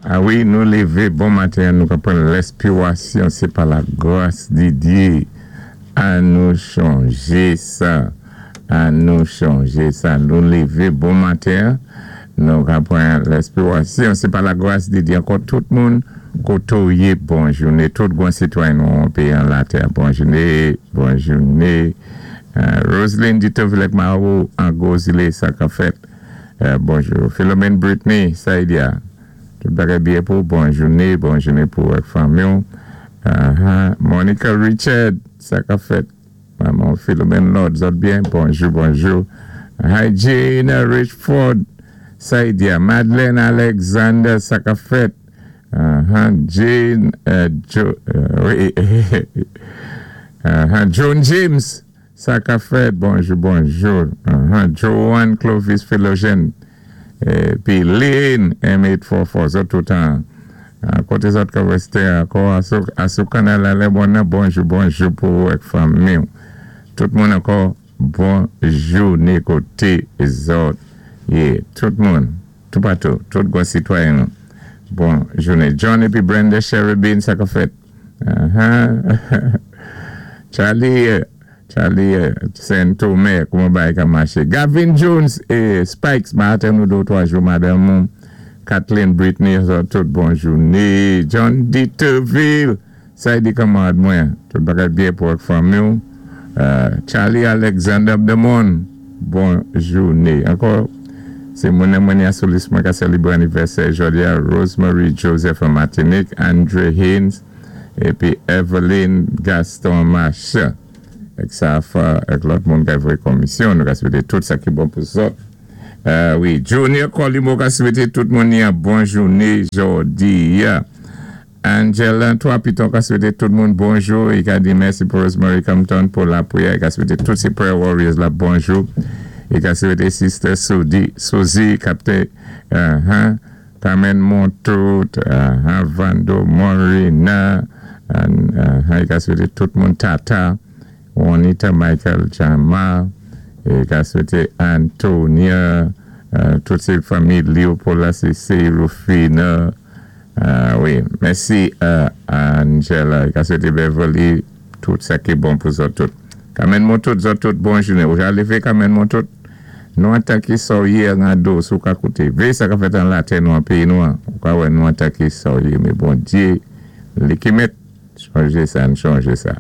A wi, nou lévé bon maten, nou ka pran lèspirasyon, sé pa la gras di Dye. An nou chonjé sa. An nou chonjé sa. Nou lévé bon maten, nou ka pran lèspirasyon, sé pa la gras di Dye. Ankò tout moun koté ou yé, bon jouné. Tout gwan sitwayen nou an péyi an latè, bon jouné, bon jouné. Roseline Dutoville ak Maro an gwo zilé, sa ka fèt? Bonjou. Philomène Brittany, sa y di a? Tout bagay byen pou ou? Bon jouné, bon jouné pou ou ak fanmi ou. Monica Richard, sa ka fèt? Manman Philomène Lord, zòt byen? Bonjou, bonjou. Hi Jane Richford, sa y di a? Madeleine Alexander, sa ka fèt? Jane, Jo, wi, Joan James, sa ka fèt? Bonjou, bonjou. Joanne Clovis Philogène, épi Lynn M844, zòt tout an koté zòt ka wèstè ankò asou kanal la lè bon nan, bonjou, bonjou pou ou ak fanmi ou. Tout moun ankò, bon jouné koté zòt yé. Tout moun, toupatou, tout gwan sitwayen nou, bon jouné. John épi Brenda Cherubin, sa ka fèt? Charlie Charlie Sen Tome, kouman bagay ka maché? Gavin Jones e Spikes, ma atann ou 2 ou 3 jou, madanm ou Kathleen Britney, zòt tout bon jouné. John Deterville, sa y di kanmarad mwen? Tout bagay byen pou ak fanmi ou? Charlie Alexander Abdemon, bon jouné. Ankò, sé moun nan mwen ya sou lis mwen ka sèlibré anivèsè jòdi a, Rosemary Joseph an Matinik, Andre Haynes, épi Eveline Gaston Marchand ak sa fa ak lòt moun ka voyé komisyon, nou ka swété tout sa ki bon pou zòt. Wi, Junior Colimo ka swété tout moun yan bon jouné jòdi a. Angela 3 Piton ka swété tout moun bonjou, i ka di mèsi pou Rosemary Compton pou lapriyè, i ka swété tout sé prayer warriors la bonjou, i ka swété Sister Soudi, Suzy kapté, Carmen Montout, Vando Morina, i ka swété tout moun Tata, Juanita Michael Jama, i ka swété Antonia, tout sé fanmi Leopold la, se Rufina, wi, mèsi Angela, i ka swété Beverly tout sa ki bon pou zòt tout. Carmen Montout, zòt tout bon jouné. Ou ja lévé Carmen Montout? Nou atake sa w ye an ado si w ka koute. Véyé sa ka fèt an latè nou an péyi nou an. Ou ka wè nou atake sa w ye men Bondye li ki mèt. Chonjé sa n chonjé sa.